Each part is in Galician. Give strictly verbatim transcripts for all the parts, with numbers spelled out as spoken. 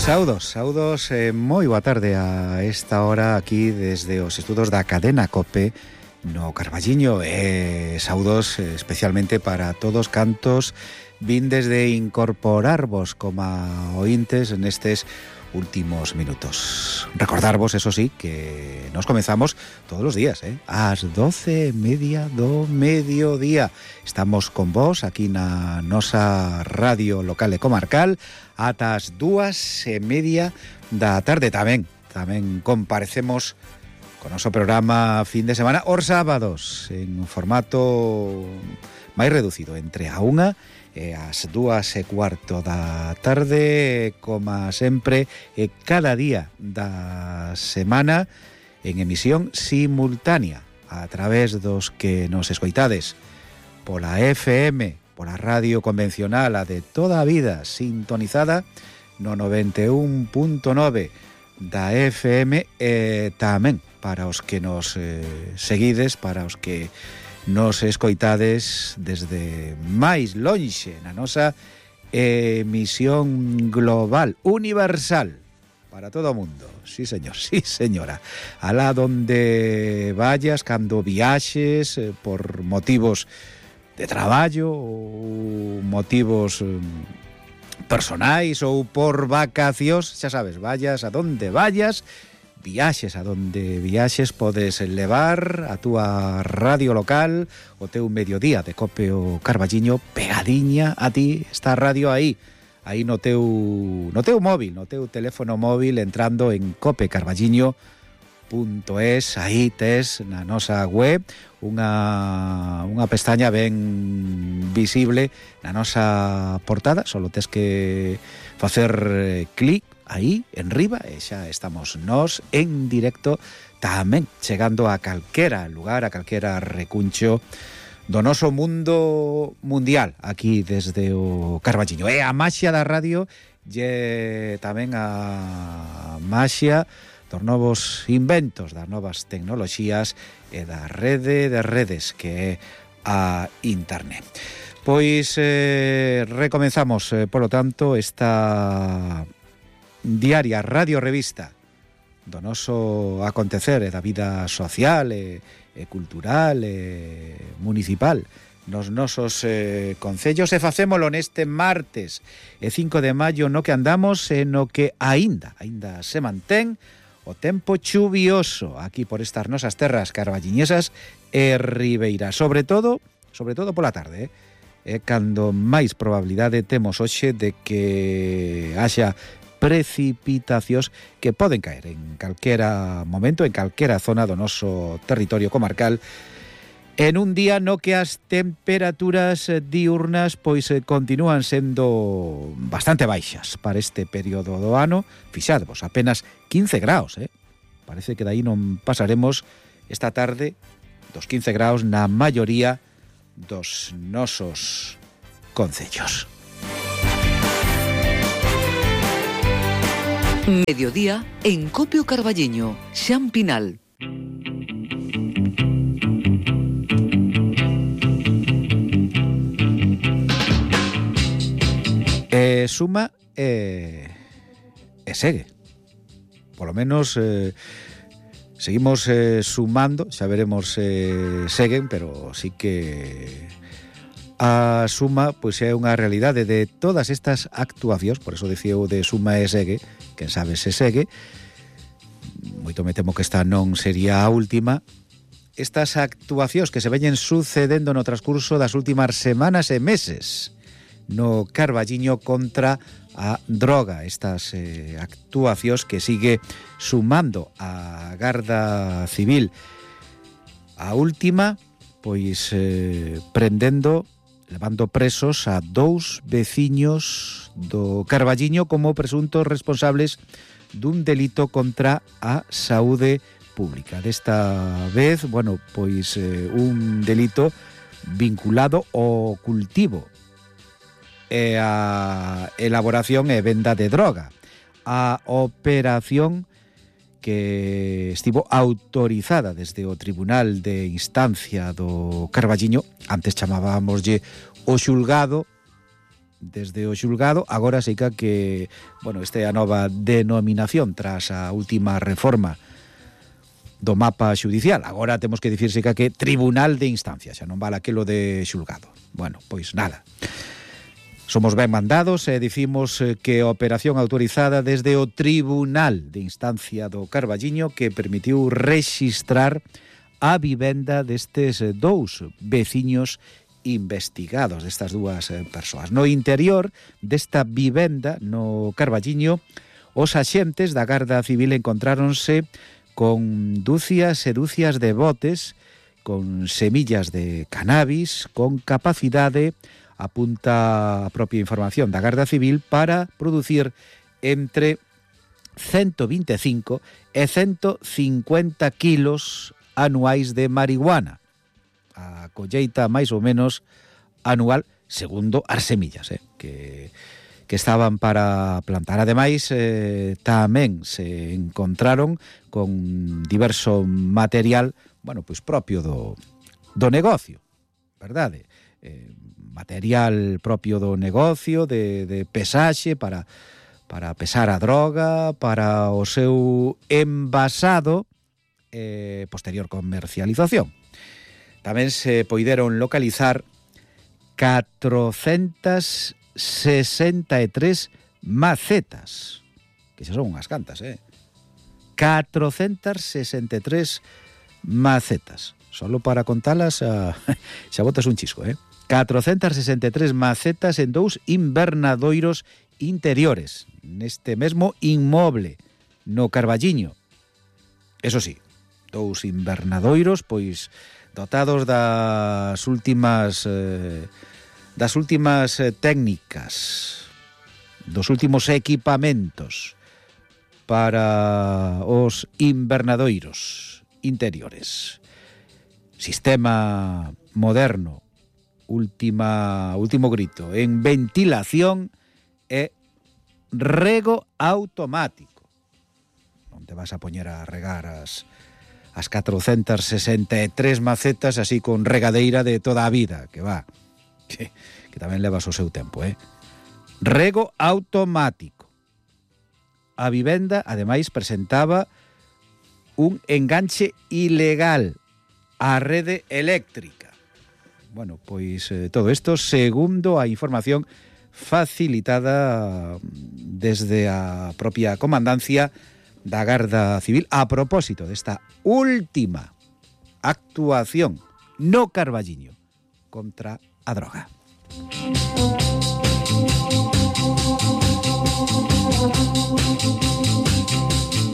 Saudos, saudos, eh, moi boa tarde a esta hora aquí desde os estudos da cadena COPE no Carballiño e eh, saudos eh, especialmente para todos cantos vindes de incorporarvos como ointes nestes últimos minutos. Recordarvos, eso sí, que nos comenzamos todos los días, eh? Ás doce e media do mediodía. Estamos con vos aquí na nosa radio local e comarcal ata as dúas e media da tarde. Tamén, tamén comparecemos con noso programa fin de semana os sábados en formato máis reducido, entre a unha e as dúas e cuarto da tarde, como sempre, e cada día da semana en emisión simultánea a través dos que nos escoitades pola F M, pola radio convencional, a de toda a vida, sintonizada no noventa e un punto nove da F M, e tamén para os que nos eh, seguides, para os que nos escoitades desde máis lonxe na nosa emisión global, universal, para todo o mundo. Sí, señor, sí, señora. Alá donde vayas, cando viaxes, eh, por motivos de traballo ou motivos eh, personais ou por vacacións, xa sabes, vayas a donde vayas, viaxes a donde viaxes, podes levar a túa radio local, o teu mediodía de Cope o Carballiño pegadiña a ti, está a radio aí, aí no teu no teu móvil, no teu teléfono móvil, entrando en cope carballiño punto es, aí tes na nosa web unha unha pestaña ben visible na nosa portada, só tes que facer clic aí, en riba, e xa estamos nós en directo, tamén chegando a calquera lugar, a calquera recuncho do noso mundo mundial, aquí desde o Carballiño. E a maxia da radio lle tamén a maxia dos novos inventos, das novas tecnoloxías e da rede de redes que é a internet. Pois eh, recomenzamos, eh, polo tanto, esta diaria radio revista do noso acontecer e da vida social e, e cultural e municipal nos nosos eh, concellos, e facémolo neste martes e cinco de maio, no que andamos e no que aínda aínda se mantén o tempo chuvioso aquí por estas nosas terras carballiñesas e ribeiras, sobre todo sobre todo pola tarde, eh? E cando máis probabilidade temos hoxe de que haxa precipitacións que poden caer en calquera momento, en calquera zona do noso territorio comarcal, en un día no que as temperaturas diurnas pois continúan sendo bastante baixas para este período do ano. Fixadvos, apenas quince graus, eh? Parece que daí non pasaremos esta tarde dos quince graus na maioría dos nosos concellos. Mediodía en Cope o Carballiño, Xan Pinal. E suma e, e segue. Polo menos eh, seguimos eh, sumando, xa veremos se eh, seguen, pero sí que a suma pois é unha realidade de todas estas actuacións, por eso dicía eu de suma e segue, quen sabe se segue, moito me temo que esta non sería a última. Estas actuacións que se veñen sucedendo no transcurso das últimas semanas e meses no Carballiño contra a droga, estas eh, actuacións que sigue sumando a Garda Civil. A última, pois eh, prendendo, levando presos a dous veciños do Carballiño como presuntos responsables dun delito contra a saúde pública. Desta vez, bueno, pois eh, un delito vinculado ao cultivo e a elaboración e venda de droga. A operación que estivo autorizada desde o Tribunal de Instancia do Carballiño, antes chamábamoslle o xulgado desde o xulgado. Agora sí que, bueno, esta é a nova denominación tras a última reforma do mapa xudicial. Agora temos que dicir sí que Tribunal de Instancia, xa non vale aquilo de xulgado. Bueno, pois nada. Somos ben mandados e dicimos que a operación autorizada desde o Tribunal de Instancia do Carballiño, que permitiu rexistrar a vivenda destes dous veciños investigados, destas dúas persoas. No interior desta vivenda no Carballiño, os axentes da Garda Civil encontráronse con dúcias e dúcias de botes con semillas de cannabis con capacidade, apunta a propia información da Garda Civil, para producir entre ciento vinte e cinco e ciento cincuenta kilos anuais de marihuana. A colleita máis ou menos anual, segundo as semillas, eh, que... que estaban para plantar. Ademais, eh, tamén se encontraron con diverso material, bueno, pois propio do, do negocio, verdade? Eh, material propio do negocio, de, de pesaxe, para, para pesar a droga, para o seu envasado e eh, posterior comercialización. Tamén se poideron localizar catrocentas sesenta e tres macetas, que xa son unhas cantas, eh? catrocentas sesenta e tres macetas. Solo para contalas a... xa botas un chisco, eh? catrocentas sesenta e tres macetas en dous invernadoiros interiores, neste mesmo inmoble, no Carballiño. Eso sí, dous invernadoiros, pois, dotados das últimas... Eh, das últimas eh, técnicas, dos últimos equipamentos para os invernadoiros interiores. Sistema moderno, última, último grito, en ventilación e rego automático. Non te vas a poñer a regar as, as catrocentas sesenta e tres macetas así con regadeira de toda a vida, que va... Que, que tamén levas o seu tempo, eh? Rego automático. A vivenda, ademais, presentaba un enganche ilegal á rede eléctrica. Bueno, pois eh, todo isto segundo a información facilitada desde a propia comandancia da Garda Civil a propósito desta última actuación no Carballiño contra a droga.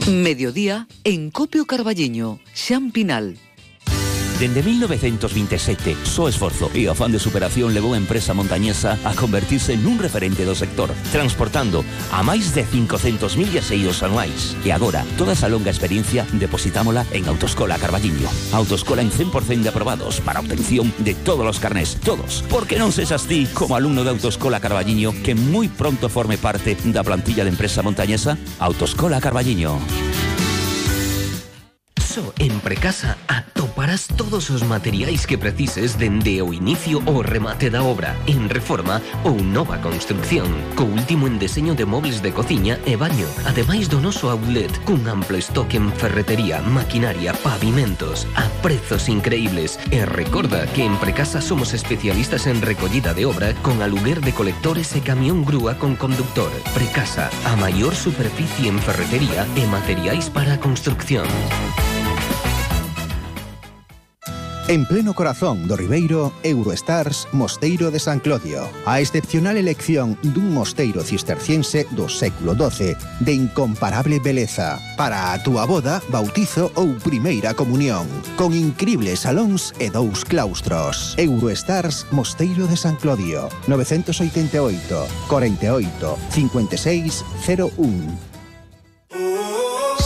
Mediodía en Copio Carballiño, Xan Pinal. Dende mil novecientos veintisiete, so esforzo e o afán de superación levou a empresa montañesa a convertirse nun referente do sector, transportando a máis de cincocentos mil viaxeiros anuais. E agora, toda esa longa experiencia depositámola en Autoescola Carballiño. Autoescola en cen por cento de aprobados para obtención de todos os carnés, todos. Porque non sexas ti, como alumno de Autoescola Carballiño, que moi pronto forme parte da plantilla de empresa montañesa. Autoescola Carballiño. En Precasa atoparás todos os materiais que precises dende o inicio ao remate da obra, en reforma ou nova construcción, co último en deseño de mobles de cociña e baño, ademais do noso outlet, cun amplo estoque en ferretería, maquinaria, pavimentos, a prezos increíbles. E recorda que en Precasa somos especialistas en recollida de obra con aluguer de colectores e camión grúa con conductor. Precasa, a maior superficie en ferretería e materiais para a construcción. En pleno corazón do Ribeiro, Eurostars Mosteiro de San Clodio. A excepcional elección dun mosteiro cisterciense do século doce, de incomparable beleza, para a túa boda, bautizo ou primeira comunión, con incribles salóns e dous claustros. Eurostars Mosteiro de San Clodio, nove oito oito, cuarenta y ocho, cincuenta y seis, cero uno.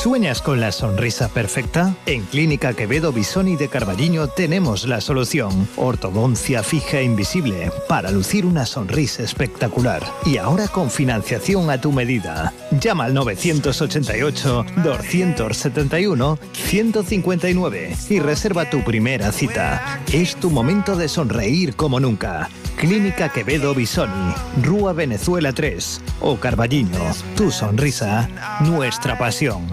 ¿Sueñas con la sonrisa perfecta? En Clínica Quevedo Bisoni de Carballiño tenemos la solución. Ortodoncia fija e invisible para lucir una sonrisa espectacular. Y ahora con financiación a tu medida. Llama al nueve ocho ocho, dos siete uno, uno cinco nueve y reserva tu primera cita. Es tu momento de sonreír como nunca. Clínica Quevedo Bisoni, Rúa Venezuela tres. O Carballiño, tu sonrisa, nuestra pasión.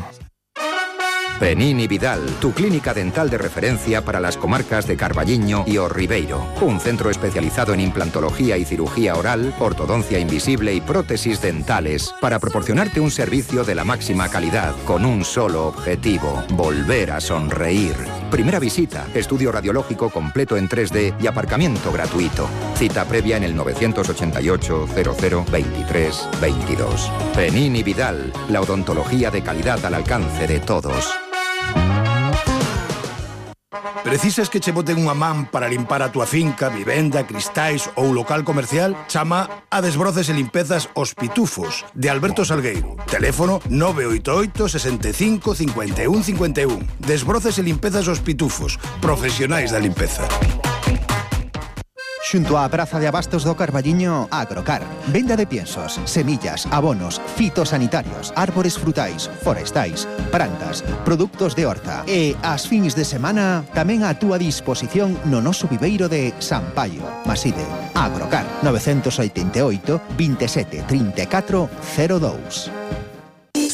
Penini Vidal, tu clínica dental de referencia para las comarcas de Carballiño y O Ribeiro. Un centro especializado en implantología y cirugía oral, ortodoncia invisible y prótesis dentales, para proporcionarte un servicio de la máxima calidad con un solo objetivo: volver a sonreír. Primera visita, estudio radiológico completo en tres D y aparcamiento gratuito. Cita previa en el novecientos ochenta y ocho, cero cero, veintitrés, veintidós. Penini Vidal, la odontología de calidad al alcance de todos. Precisas que che boten unha man para limpar a túa finca, vivenda, cristais ou local comercial? Chama a Desbroces e Limpezas Os Pitufos, de Alberto Salgueiro. Teléfono nove oito oito, sesenta e cinco, cincuenta e un, cincuenta e un. Desbroces e Limpezas Os Pitufos, profesionais da limpeza. Xunto á Praza de Abastos do Carballiño, Agrocar. Venda de piensos, semillas, abonos, fitosanitarios, árbores frutais, forestais, plantas, produtos de horta. E as fins de semana tamén a túa disposición no noso viveiro de San Paio. Maside, Agrocar, novecientos oitenta e oito, veintisiete, treinta e catro, cero dous.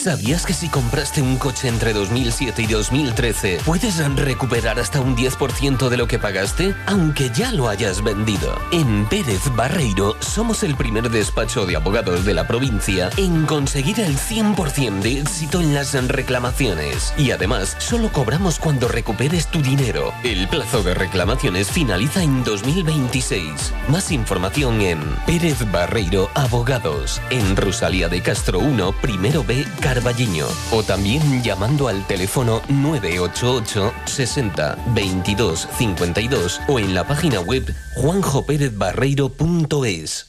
¿Sabías que si compraste un coche entre dos mil siete y dos mil trece puedes recuperar hasta un diez por ciento de lo que pagaste, aunque ya lo hayas vendido? En Pérez Barreiro somos el primer despacho de abogados de la provincia en conseguir el cien por ciento de éxito en las reclamaciones. Y además, solo cobramos cuando recuperes tu dinero. El plazo de reclamaciones finaliza en dos mil veintiséis. Más información en Pérez Barreiro Abogados, en Rosalía de Castro uno, primero B, Carballiño, o también llamando al teléfono nueve ocho ocho, sesenta, veintidós, cincuenta y dos o en la página web juanjo pérez barreiro punto es.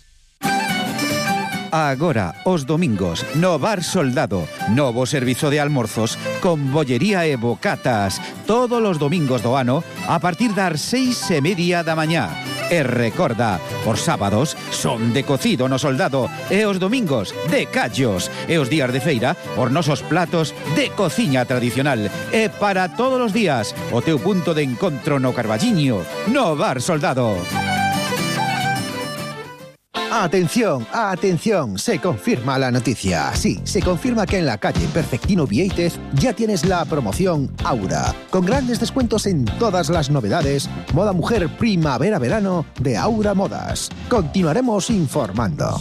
Agora, os domingos, no Bar Soldado, novo servizo de almorzos con bollería e bocatas, todos os domingos do ano a partir das seis e media da mañá. E recorda, os sábados son de cocido no Soldado e os domingos de callos e os días de feira os nosos platos de cociña tradicional. E para todos os días, o teu punto de encontro no Carballiño, no Bar Soldado. Atención, atención, se confirma la noticia. Sí, se confirma que en la calle Perfectino Vieitez ya tienes la promoción Aura, con grandes descuentos en todas las novedades, moda mujer primavera-verano de Aura Modas. Continuaremos informando.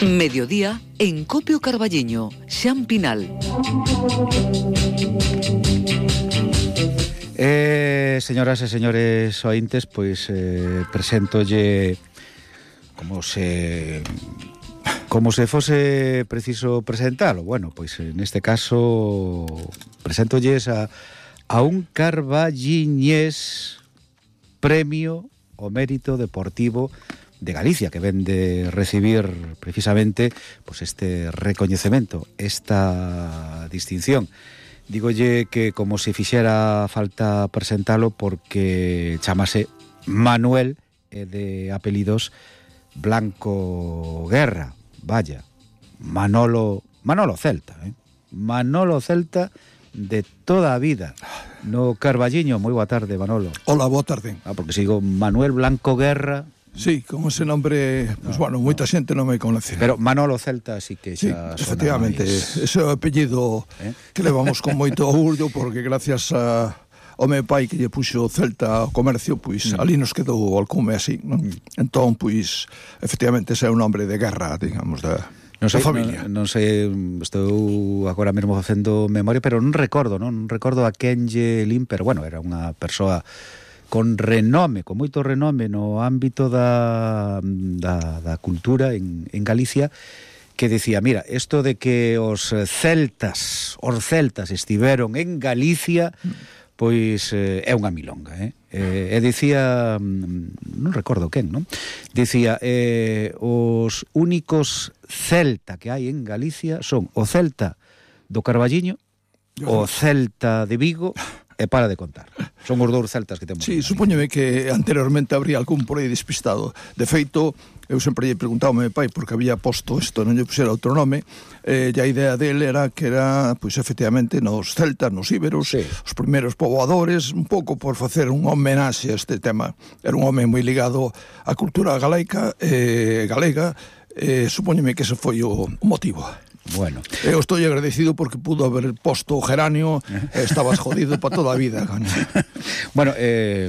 Mediodía en Copio Carballiño, Xan Pinal. Eh, señoras e señores ointes, pois eh, preséntolle como se como se fose preciso presentalo. Bueno, pois neste caso preséntolles a, a un carballiñés premio ao mérito deportivo de Galicia, que ven de recibir precisamente pues este recoñecemento, esta distinción. Dígolle que como se fixera falta presentalo porque chamase Manuel e de apelidos Blanco Guerra. Vaya, Manolo Manolo Celta, eh? Manolo Celta de toda a vida. No Carballiño, moi boa tarde, Manolo. Hola, boa tarde. Ah, porque sigo Manuel Blanco Guerra. Sí, con ese nombre, pues no, bueno, moita xente non me conoce. Pero Manolo Celta sí que xa sí, efectivamente, máis... ese apellido ¿Eh? que levamos con moito orgullo, porque gracias a o meu pai que lle puxo Celta ao comercio, pois mm. ali nos quedou o alcume así, non? Mm. Entón, pois, efectivamente, ese é un nombre de guerra, digamos, da, non sei, da familia. Non, non sei, estou agora mesmo facendo memoria, pero non recordo, non, non recordo a quen lle lin, pero bueno, era unha persoa con renome, con moito renome no ámbito da, da, da cultura en, en Galicia, que decía, mira, isto de que os celtas, os celtas estiveron en Galicia, pois eh, é unha milonga, eh? Eh, e dicía, non recordo quen, non? Dicía, eh, os únicos celta que hai en Galicia son o celta do Carballiño, o celta de Vigo e para de contar. Son os dous celtas que temos. Sí, supóñeme que anteriormente habría algún por aí despistado. De feito, eu sempre lle preguntaba ao meu pai porque había posto isto, non lle puxera outro nome, eh, e a idea dele era que era, pois, efectivamente, nos celtas, nos íberos, sí, os primeiros poboadores, un pouco por facer un homenaxe a este tema. Era un home moi ligado á cultura galaica, eh, galega, eh, supóñeme que ese foi o, o motivo. Bueno. Eu estou agradecido porque pudo haber posto o geranio e estabas jodido para toda a vida. Bueno, eh,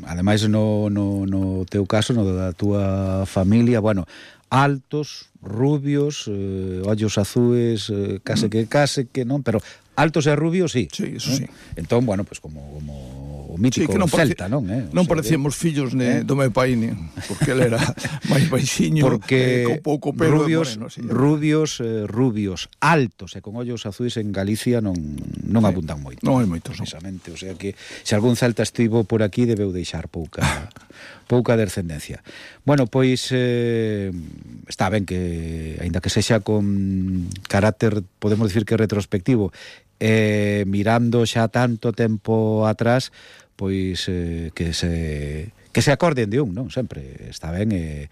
ademais no, no, no teu caso, no da túa familia, bueno, altos, rubios, eh, ollos azues, eh, case que case que non, pero altos e rubios, sí. Sí, eso sí. Eh? Entón, bueno, pues como, como o mítico sí, non celta, non? Eh? Non parecíamos fillos ne, eh? do meu pai, ni, porque ele era máis baixiño, porque eh, con pouco pelo rubios, moreno, sí. rubios, eh, rubios, altos e con ollos azuis en Galicia non, non sí, abundan moito. Non hai moitos, precisamente. O sea que se algún celta estivo por aquí debeu deixar pouca pouca descendencia. Bueno, pois eh, está ben que, aínda que sexa con carácter, podemos dicir que retrospectivo, eh, mirando xa tanto tempo atrás, pois eh, que se que se acorden de un, non? Sempre está ben e,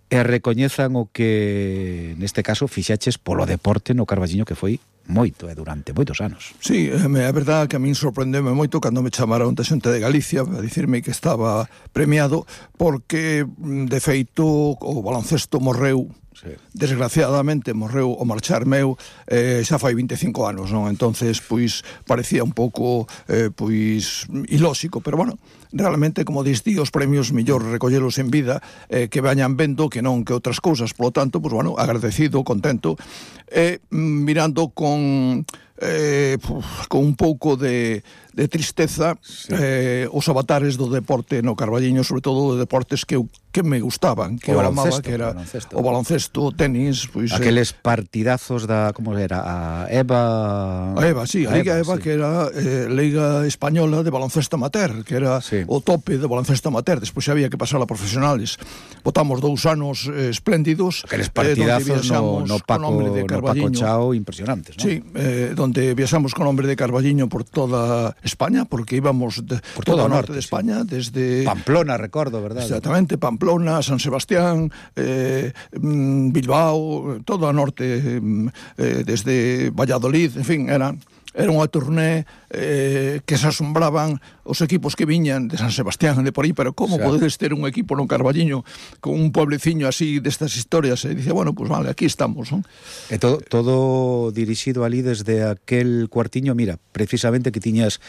e recoñezan o que neste caso fixaches polo deporte no Carballiño, que foi moito e durante moitos anos. Sí, é verdade que a min sorprendeme moito cando me chamaron da xente de Galicia a dicirme que estaba premiado porque, de feito, o baloncesto morreu. Sí. Desgraciadamente morreu o marchar meu eh, xa fai vinte e cinco anos, non? Entonces, pois, parecía un pouco eh, pois, ilóxico, pero bueno, realmente, como dis ti, os premios mellor recollelos en vida, eh, que vañan vendo que non que outras cousas, polo tanto, pois, bueno, agradecido, contento, e eh, mirando con eh, con un pouco de de tristeza, sí, eh, os avatares do deporte no Carballiño, sobre todo de deportes que eu que me gustaban, que eu amaba, que era o baloncesto, o tenis, pois aqueles eh, partidazos da, como era, a EVA, a EVA, sí, a, a Liga EVA, EVA sí, que era eh, Liga Española de baloncesto amateur, que era sí, o tope de baloncesto amateur. Despois había que pasar a profesionales. Botamos dous anos eh, espléndidos, aqueles partidazos eh, no, no Paco, no Paco Chao impresionantes, ¿no? Sí, eh, donde viaxamos con nombre de Carballiño por toda España, porque íbamos de, por todo o norte, norte de España, sí, desde Pamplona, recordo, verdade? Exactamente, Pamplona, San Sebastián, eh, Bilbao, todo o norte, eh, desde Valladolid, en fin, eran era unha turné eh, que se asombraban os equipos que viñan de San Sebastián, de por aí, pero como claro, podedes ter un equipo no Carballiño con un puebleciño así destas historias? E dice, bueno, pues vale, aquí estamos, non? E todo, todo dirixido ali desde aquel cuartiño, mira, precisamente que tiñas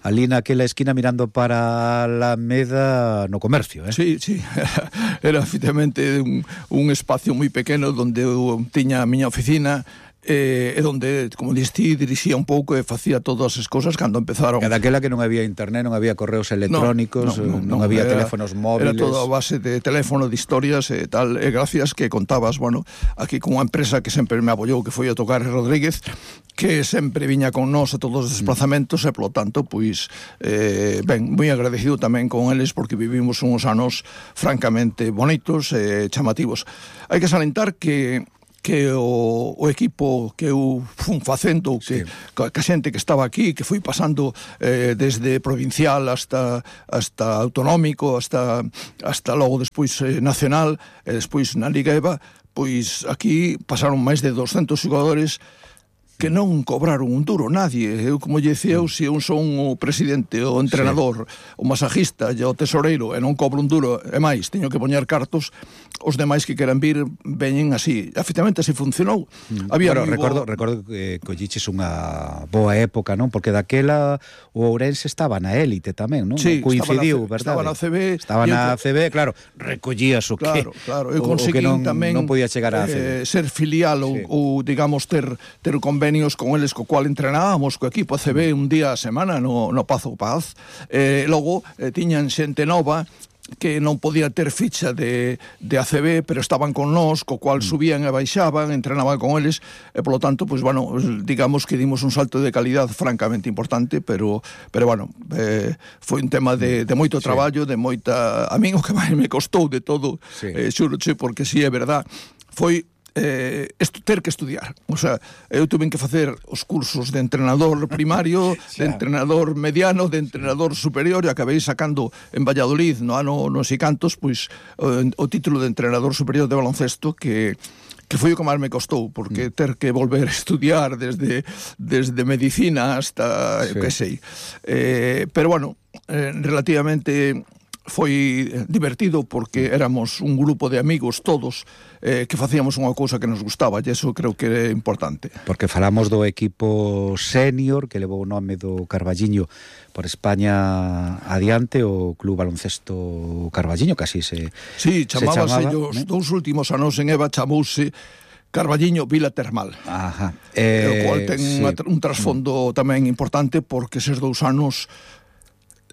ali naquela esquina mirando para la Alameda no comercio, eh? Sí, sí, era, era efectivamente un, un espacio moi pequeno onde eu tiña a miña oficina, eh, e onde, como diste, dirixía un pouco e facía todas as cousas cando empezaron. Cada aquela que non había internet, non había correos electrónicos, no, no, no, non había era, teléfonos móviles. Era toda a base de teléfono, de historias e tal, e gracias que contabas, bueno, aquí con unha empresa que sempre me apoiou, que foi a Tocar Rodríguez, que sempre viña con nós a todos os desplazamentos, e polo tanto, pois, eh, ben, moi agradecido tamén con eles, porque vivimos uns anos francamente bonitos e chamativos. Hai que salientar que que o, o equipo que eu fun facendo, que, sí, que a xente que estaba aquí, que fui pasando eh, desde provincial hasta hasta autonómico, hasta hasta logo despois eh, nacional, e despois na Liga EVA, pois aquí pasaron máis de doscentos xogadores que non cobraron un duro, nadie. Eu, como lle dicía, eu, se eu son o presidente, o entrenador, sí, o masajista e o tesoreiro, e non cobro un duro, e máis, teño que poñer cartos, os demais que queran vir veñen así. Efectivamente, así funcionou. Mm. Había bueno, recordo, bo... recordo que colliches unha boa época, non? Porque daquela o Ourense estaba na élite tamén, non? Sí, coincidiu, verdade? Estaba na C B. Estaba na C B, claro, recollías o que, claro, claro. Eu conseguí non, tamén non podía chegar a eh, ser filial ou, sí, ou, digamos, ter, ter convenio con eles co cual entrenábamos co equipo A C B un día a semana no, no Pazo Paz, e eh, logo eh, tiñan xente nova que non podía ter ficha de, de A C B, pero estaban con nós, co cual subían e baixaban, entrenaban con eles, e polo tanto, pois, bueno, digamos que dimos un salto de calidad francamente importante, pero, pero bueno, eh, foi un tema de, de moito traballo, sí, de moita... A min o que máis me costou de todo, sí, eh, xuroche, porque si sí, é verdad, foi eh, estu, ter que estudiar. O sea, eu tuve que facer os cursos de entrenador primario, de entrenador mediano, de entrenador superior, e acabei sacando en Valladolid no ano non sei cantos, pois o, o título de entrenador superior de baloncesto, que que foi o que máis me costou, porque ter que volver a estudiar desde desde medicina hasta, sí. que sei. Eh, pero bueno, eh, relativamente foi divertido, porque éramos un grupo de amigos todos eh, que facíamos unha cousa que nos gustaba, e iso creo que é importante. Porque falamos do equipo senior que levou o nome do Carballiño por España adiante, o Club Baloncesto Carballiño, que así se Sí, chamábase se chamaba, os ¿eh? dous últimos anos en Eva chamouse Carballiño Vila Termal. Ajá. Eh, o cual ten sí. unha, un trasfondo tamén importante, porque eses dous anos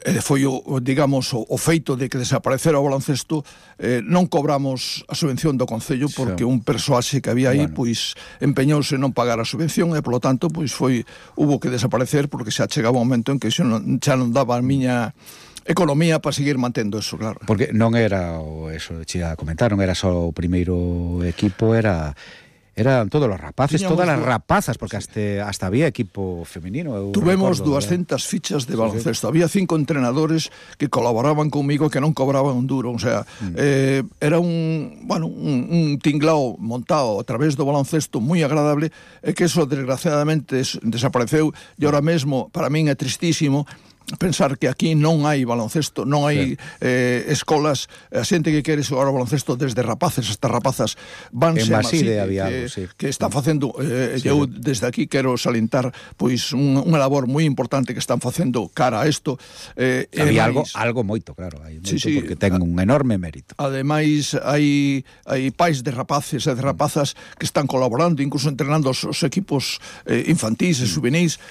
eh, foi o, digamos, o, o feito de que desaparecera o baloncesto. Eh, non cobramos a subvención do Concello, porque sí. un persoaxe que había aí, bueno. pois empeñouse en non pagar a subvención, e polo tanto pois foi hubo que desaparecer, porque xa chegaba un momento en que xa non, xa non daba a miña economía para seguir mantendo eso, claro. Porque non era o eso, che a comentar, non era só o primeiro equipo, era eran todos os rapaces, Tiñamos todas as rapazas, porque sí. hasta, hasta había equipo femenino. Tuvemos doscientas fichas de baloncesto. Sí. Había cinco entrenadores que colaboraban conmigo, que non cobraban un duro. O sea, mm. eh, era un, bueno, un, un tinglao montado a través do baloncesto moi agradable, e que eso desgraciadamente desapareceu, e ahora mesmo para min é tristísimo pensar que aquí non hai baloncesto, non hai sí. eh, escolas, a xente que quere xogar ao baloncesto, desde rapaces hasta rapazas, vanse a Maside, había que, algo, sí. que está facendo, eh, sí, eu sí. desde aquí quero salientar pois un, unha labor moi importante que están facendo cara a isto. Eh, había algo, algo moito, claro, hai moito, sí, sí, porque ten un enorme mérito. Ademais, hai, hai pais de rapaces e de rapazas que están colaborando, incluso entrenando os, os equipos eh, infantis e juvenis.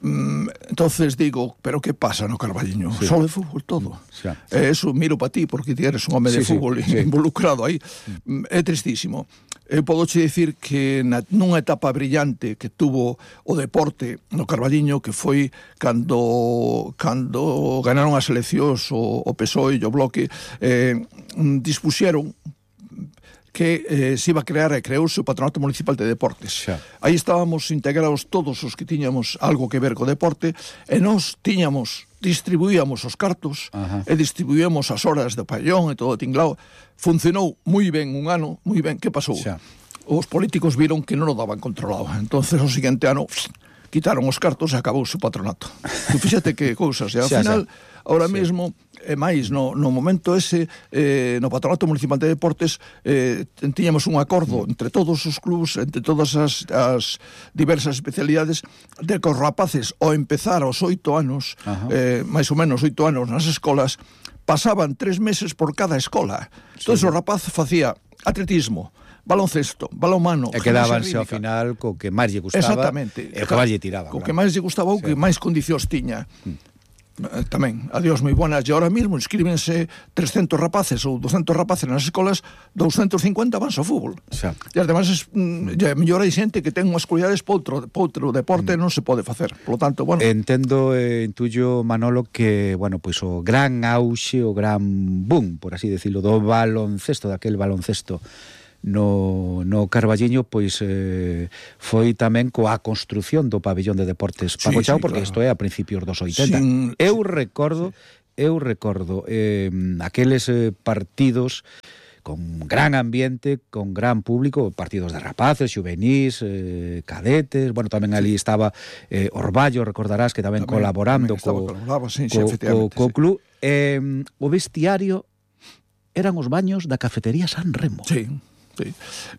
Mm, entonces digo, pero que pasa no Carballiño? Sí. Só de fútbol todo. Sí. Eh, eso miro para ti, porque ti eres un home de sí, fútbol sí, involucrado aí. Mm. É tristísimo. Eu podo che dicir que na, nunha etapa brillante que tuvo o deporte no Carballiño, que foi cando cando ganaron as eleccións o, o P S O E e o Bloque, eh, dispuxeron que eh, se iba a crear e creouse o Patronato Municipal de Deportes. Xa. Aí estábamos integrados todos os que tiñamos algo que ver co deporte, e nós tiñamos, distribuíamos os cartos, Ajá. e distribuíamos as horas de pabellón e todo o tinglao. Funcionou moi ben un ano, moi ben. Que pasou? Xa. Os políticos viron que non o daban controlado. Entonces, o seguinte ano, pss, quitaron os cartos e acabouse o patronato. Tu fíxate que cousas. E ao xa, final, xa. ahora sí. mesmo, e máis, no, no momento ese, eh, no Patronato Municipal de Deportes, eh, tiñamos un acordo entre todos os clubs, entre todas as, as diversas especialidades, de que os rapaces, ao empezar aos oito anos, eh, máis ou menos oito anos nas escolas, pasaban tres meses por cada escola. Sí. Entón, o rapaz facía atletismo, baloncesto, balonmano, e quedábanse ao final co que máis lle gustaba. Exactamente. E o que máis lle tiraba. Co claro. que máis lle gustaba, o que sí. máis condicións tiña. Mm. Tamén, adiós moi buenas. E ahora mesmo inscríbense trescentos rapaces ou douscentos rapaces nas escolas, doscientos cincuenta van ao fútbol. Xa. E además es, mm, ya mellor hai xente que ten unhas cualidades para outro, para outro deporte, mm. non se pode facer. Por lo tanto, bueno. Entendo, eh, intuyo, Manolo, que, bueno, pois pues, o gran auxe, o gran boom, por así decirlo, do baloncesto, daquel baloncesto no, no Carballiño, pois eh, foi tamén coa construción do pabellón de deportes Paco sí, Chao, sí, porque isto claro. é a principios dos oitenta. Sin, eu recordo, sí. eu recordo eh, aqueles eh, partidos con gran ambiente, con gran público, partidos de rapaces, xuvenís, eh, cadetes, bueno, tamén ali estaba eh, Orballo, recordarás, que tamén, tamén colaborando tamén co, sí, co, sí, co, co sí. club. Eh, o vestiario eran os baños da cafetería San Remo. Sí. Sí.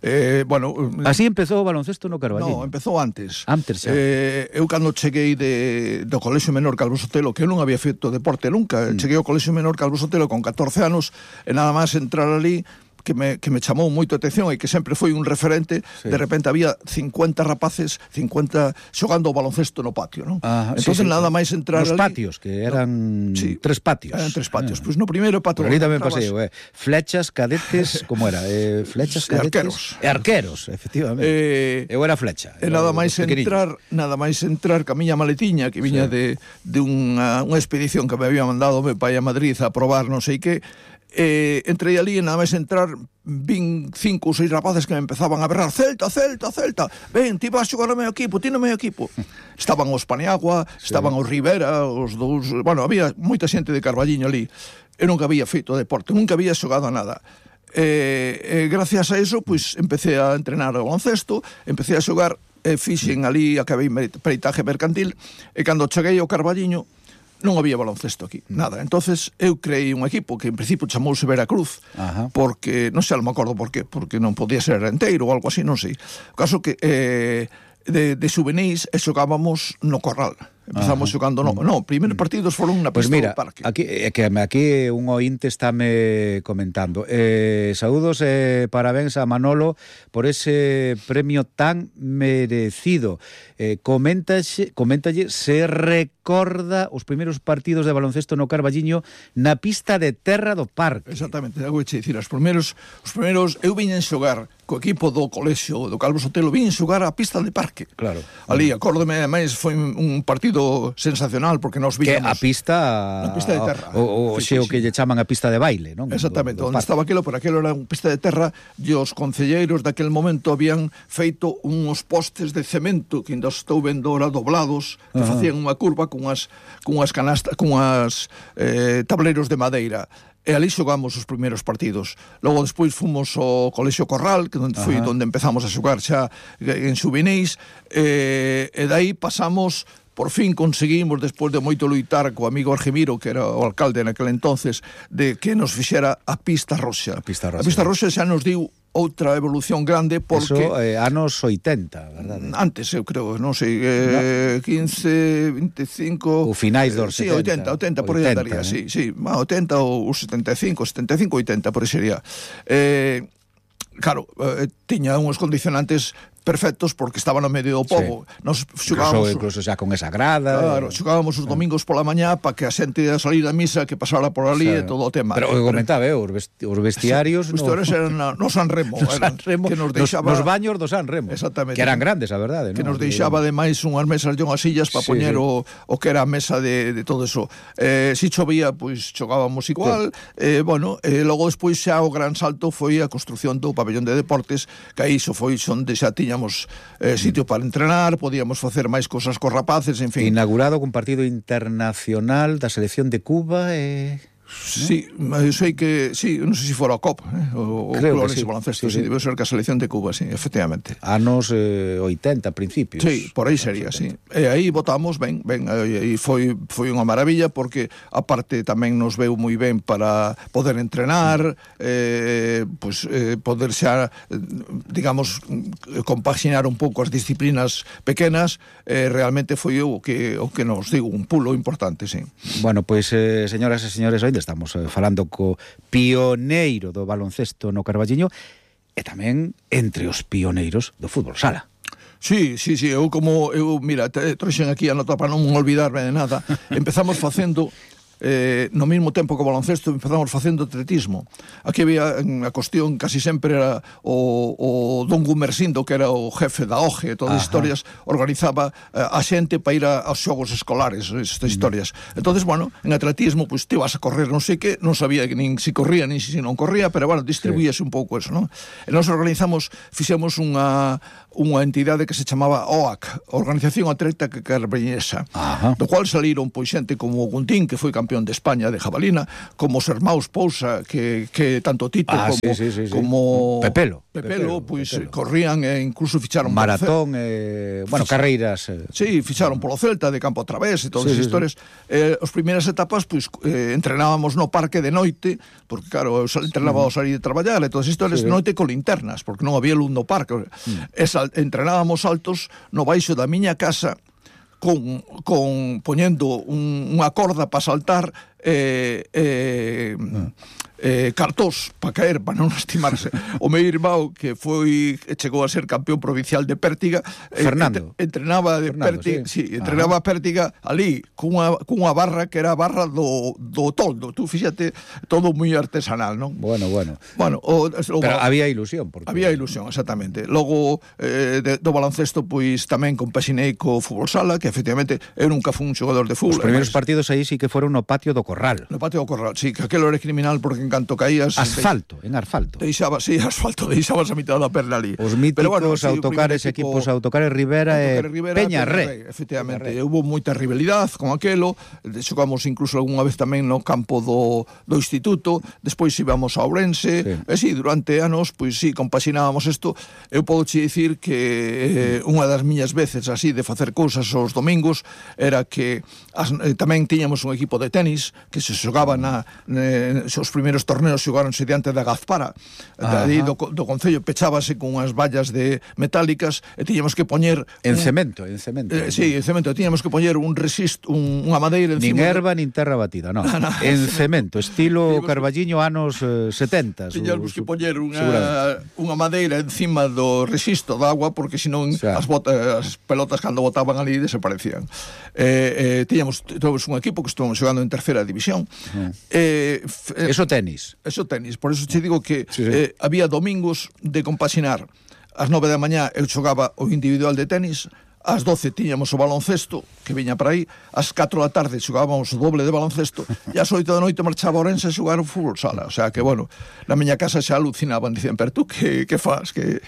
Eh, bueno, así empezou o baloncesto no Carballiño. No, empezou antes. Antes, xa. Eh, eu cando cheguei de, do Colexio Menor Calvo Sotelo, que eu non había feito deporte nunca, mm. cheguei ao Colexio Menor Calvo Sotelo con catorce anos, e nada máis entrar ali, que me, que me chamou moito a atención e que sempre foi un referente, sí. De repente había cincuenta rapaces, cincuenta xogando o baloncesto no patio, non? Ah, entonces sí, sí, nada máis entrar nos ali, patios, que eran no, sí, tres patios. Eran tres patios. Ah. Pois pues no primeiro patio. Pero ali tamén pasei, eh. Flechas, cadetes, como era? Eh, flechas, cadetes. E arqueros. E arqueros, efectivamente. Eh, eu era flecha. E nada máis entrar, nada máis entrar ca miña maletiña, que viña sí. de, de unha, unha expedición que me había mandado meu pai a Madrid a probar non sei que, eh, entrei ali e nada máis entrar vin cinco ou seis rapaces que me empezaban a berrar Celta, Celta, Celta, ven, ti vas xogar ao meu equipo, ti no meu equipo. Estaban os Paniagua, sí. estaban os Rivera, os dous, bueno, había moita xente de Carballiño ali. Eu nunca había feito deporte, nunca había xogado a nada. E, e gracias a eso, pois, empecé a entrenar o baloncesto, empecé a xogar, e fixen ali, acabei peritaje mercantil, e cando cheguei ao Carballiño, non había baloncesto aquí, nada. Entonces eu creei un equipo que en principio chamouse Veracruz, Ajá. porque, non sei, non me acordo por qué, porque non podía ser renteiro ou algo así, non sei. O caso que eh, de, de juvenis e xogábamos no Corral. Empezamos Ajá. xogando, no, no, primeiros partidos foron na pista pues mira, do parque. Aquí, que aquí un ointe estáme comentando. Eh, saúdos e eh, parabéns a Manolo por ese premio tan merecido. Eh, coméntalle, coméntalle se recorda os primeiros partidos de baloncesto no Carballiño na pista de terra do parque. Exactamente, vou che dicir, os primeiros, os primeiros eu viñen xogar co equipo do colexio do Calvo Sotelo, viñen xogar a pista de parque. Claro. Ali, acórdome, máis foi un partido sensacional porque nos víamos que a pista a pista de terra o, o sí, xeo sí. que lle chaman a pista de baile, non? Exactamente, do, do onde parque. Estaba aquilo, por aquilo era unha pista de terra e os concelleiros daquel momento habían feito uns postes de cemento que ainda estou vendo ahora doblados que uh-huh. facían unha curva cunhas, cunhas canastas, cunhas eh, tableros de madeira. E ali xogamos os primeiros partidos. Logo despois fomos ao Colexio Corral, que foi uh-huh. onde empezamos a xogar xa en xuvenis, e, e dai pasamos. Por fin conseguimos, despois de moito luitar co amigo Argemiro, que era o alcalde naquele entonces, de que nos fixera a pista roxa. A pista roxa, a pista roxa xa nos diu outra evolución grande porque... Eso, eh, anos oitenta, verdade? Antes, eu creo, non sei, eh, no. quince, veinticinco... O finais dos sí, setenta. Sí, oitenta, oitenta, por aí andaría, eh? sí, sí, oitenta ou setenta e cinco, setenta e cinco, oitenta, por aí sería. Eh, claro, eh, tiña uns condicionantes perfectos porque estaba no medio do pobo. Sí. Nos xogábamos incluso, incluso xa con esa grada. Claro, xogábamos os domingos pola mañá para que a xente a salir da misa que pasara por ali sí. e todo o tema. Pero o que comentaba, eh, os, vesti os vestiarios os vestiarios no... eran na, no San Remo, no eran, San Remo que nos deixaba nos, nos baños do San Remo. Exactamente. Que eran grandes, a verdade, que ¿no? nos deixaba ademais unhas mesas e unhas sillas para sí, poñer sí. O, o que era a mesa de, de todo eso. Eh, si chovía, pois xogábamos igual. Sí. Eh, bueno, eh, logo despois xa o gran salto foi a construción do pabellón de deportes, que aí xo foi onde xa tiñamos eh, sitio para entrenar, podíamos facer máis cosas cos rapaces, en fin. Inaugurado con partido internacional da selección de Cuba e... Eh... Sí, eu sei que sí, non sei se fora o C O P, eh, o Colores sí. Baloncesto, sí, sí, sí, debe ser que a selección de Cuba, sí, efectivamente. Anos eh, oitenta, principios. Sí, por aí sería, sí. E aí votamos, ben, ben, e foi foi unha maravilla porque aparte tamén nos veu moi ben para poder entrenar, eh, pues, eh, poder xa, digamos, compaxinar un pouco as disciplinas pequenas, eh, realmente foi o que o que nos digo, un pulo importante, sí. Bueno, pois, pues, eh, señoras e señores, hoy estamos eh, falando co pioneiro do baloncesto no Carballiño e tamén entre os pioneiros do fútbol sala. Sí, sí, sí, eu como, eu, mira, trouxen aquí a nota para non olvidarme de nada, empezamos facendo... Eh, no mesmo tempo que o baloncesto empezamos facendo atletismo. Aquí había a cuestión casi sempre era o, o Don Gumersindo, que era o jefe da O G e todas as historias, organizaba eh, a xente para ir a, aos xogos escolares, estas historias. Mm. Entonces, bueno, en atletismo, pues te vas a correr non sei que, non sabía que nin si corría nin si non corría, pero bueno, distribuíase sí. un pouco eso, non? E nos organizamos, fixemos unha unha entidade que se chamaba O A C, Organización Atlética Carballiñesa, do cual saliron pois xente como Guntín, que foi campeón de España de jabalina, como os hermaus Pousa, que, que tanto Tito ah, como, sí, sí, sí, sí. como Pepelo, Pepelo, Pepelo pois Pepelo. corrían e incluso ficharon maratón, eh, bueno, Fich... carreiras. Eh. Sí, ficharon polo Celta de campo a través e todas sí, as sí, historias. Sí. Eh, os primeiras etapas, pois eh, entrenábamos no parque de noite, porque claro, eu entrenaba ao salir de traballar e todas as historias sí, de noite con linternas, porque non había luz no parque. Mm. Esa, entrenábamos altos no baixo da miña casa con, con poñendo un, unha corda para saltar eh, eh, mm. Eh, cartós para caer, para non lastimarse. O meu irmão, que foi chegou a ser campeón provincial de pértiga, Fernando, eh, entrenaba de Fernando, pértiga, sí, sí Ajá. entrenaba pértiga ali cunha, cunha barra que era a barra do, do toldo. Tú fíxate, todo moi artesanal, non? Bueno, bueno. Bueno, o, o, pero había ilusión, porque... Había ilusión, exactamente. Logo eh, de, do baloncesto, pois tamén compaxinei co fútbol sala, que efectivamente eu nunca fui un xogador de fútbol. Os primeiros además, partidos aí sí que foron no patio do Corral. No patio do Corral, sí, que aquelo era criminal porque en canto caías... Asfalto, en asfalto. Deixabas, sí, asfalto, deixabas a mitad da perna ali. Os míticos bueno, sí, autocares, equipo, equipos autocares Rivera e Peña Ré. Efectivamente, Peña Ré. Hubo moita rivalidade con aquelo, xogamos incluso algunha vez tamén no campo do, do instituto, despois íbamos a Ourense, sí. e si, sí, durante anos, pois si, sí, compaxinábamos isto. Eu podo che dicir que eh, unha das miñas veces así de facer cousas os domingos era que as, eh, tamén tiñamos un equipo de tenis que se xogaba na, eh, os primeiros torneos xogaronse diante da Gazpara, de do, do concello, pechábase con unhas vallas de metálicas e tiñamos que poñer en un, cemento, en cemento. Eh, sí, en cemento, tiñamos que poñer un resisto, un, unha madeira encima. Nin erva, de... nin terra batida, no. no, no. En cemento, estilo Carballiño anos eh, setenta. Tiñamos que poñer unha, unha madeira encima do resisto da agua porque senón o sea. as, bota, as pelotas cando botaban ali desaparecían. Eh, eh, tiñamos, tiñamos un equipo que estuvamos xogando en terceira división. Uh-huh. eh, eh, eso tenis. Eso tenis, por eso te digo que sí, sí. Eh, había domingos de compaxinar. Ás nove da mañá eu xogaba o individual de tenis, ás doce tiñamos o baloncesto que viña para aí, ás catro da tarde xogábamos o doble de baloncesto e ás oito da noite marchaba a Ourense a xogar o fútbol sala. O sea que, bueno, na miña casa xa alucinaban, dicían, pero tú que, que faz? Que...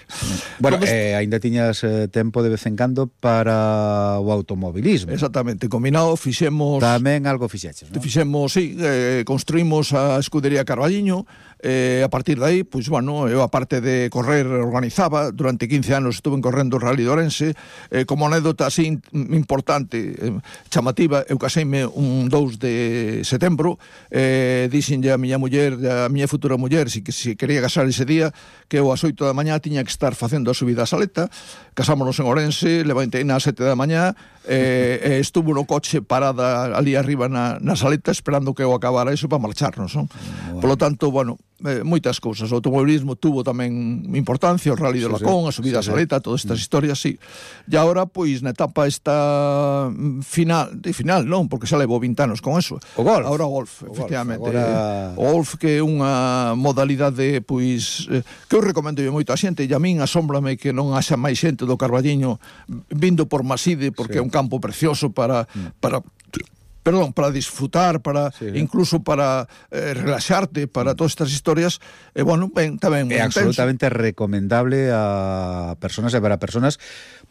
Bueno, Entonces, eh, ainda tiñas eh, tempo de vez en cando para o automobilismo. Exactamente, combinado, fixemos... Tamén algo fixeches, non? Fixemos, sí, eh, construímos a escudería Carballiño. Eh, a partir de aí, pois, bueno, eu aparte de correr organizaba, durante quince anos estuve correndo o Rally de Ourense. Eh, como anécdota así importante, eh, chamativa, eu caseime un dous de setembro, eh, dixenlle a miña muller, a miña futura muller, si, que, si quería casar ese día, que eu ás oito da mañá tiña que estar facendo a subida a Saleta. Casámonos en Ourense, levantei nas sete da mañá, eh, eh, estuvo no coche parada ali arriba na, na Saleta esperando que eu acabara iso para marcharnos, non? Bueno. Por lo tanto, bueno, eh, moitas cousas. O automobilismo tuvo tamén importancia, o Rally sí, de Lacón, sí. a subida sí, a Saleta, sí. todas estas mm. historias, sí. E agora, pois, na etapa esta final, de final, non, porque xa levo vinte anos con eso. O golf. Agora o golf, o efectivamente. Golf, agora... O golf que é unha modalidade, pois, eh, que eu recomendo moito a xente, e a min asómbrame que non haxa máis xente do Carballiño vindo por Maside, porque sí. é un campo precioso para... Mm. para perdón, para disfrutar, para sí, incluso para eh, relaxarte, para todas estas historias, e eh, bueno, ben, tamén é absolutamente recomendable a personas e para personas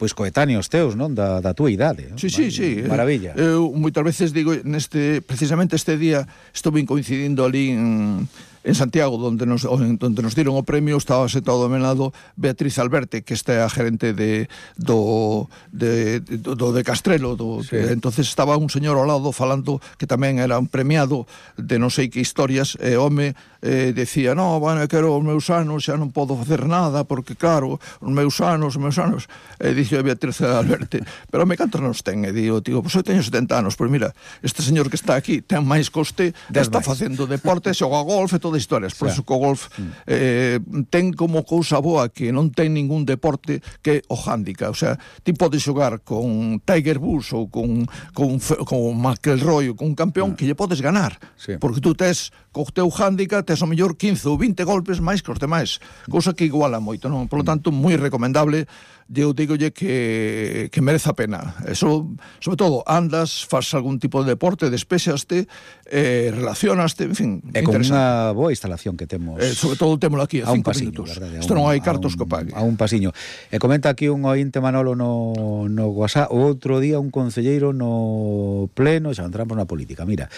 pois coetáneos teus, non, da, da túa idade, non? Sí, sí, sí. Maravilla. Eu moitas veces digo, neste precisamente este día estuve coincidindo ali en en Santiago, donde nos, donde nos dieron o premio, estaba sentado ao meu lado Beatriz Alberte, que esta é a gerente de do de, do, do de Castrelo, do, sí. que, entonces estaba un señor ao lado falando que tamén era un premiado de non sei que historias, e o home eh, decía, no, bueno, eu quero os meus anos, xa non podo facer nada, porque claro, os meus anos, os meus anos, e dixe a Beatriz Alberte, pero me cantos nos ten? E digo, tío, pois eu teño setenta anos, pero mira, este señor que está aquí ten máis coste, está facendo deporte, xoga golf e todo de historias, por eso que o golf eh, ten como cousa boa que non ten ningún deporte que o handicap, o sea, ti podes xogar con Tiger Woods ou con, con, con McIlroy ou con un campeón que lle podes ganar, sí. porque tú tes co teu handicap, tes o mellor quince ou vinte golpes máis que os demais, cousa que iguala moito, non? Por lo tanto, moi recomendable. Eu digolle que, que merece a pena. Eso, sobre todo, andas, faz algún tipo de deporte, despexaste, eh, relacionaste, en fin, e con unha boa instalación que temos. Eh, sobre todo temos aquí a, a cinco pasiño, minutos. Verdade, Isto non hai cartos que pague. A un pasiño. E comenta aquí un ointe Manolo no, no WhatsApp, o outro día un concelleiro no pleno, xa entramos na política, mira,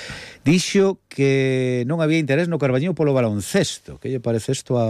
dixo que non había interés no Carballiño polo baloncesto. Que lle parece isto a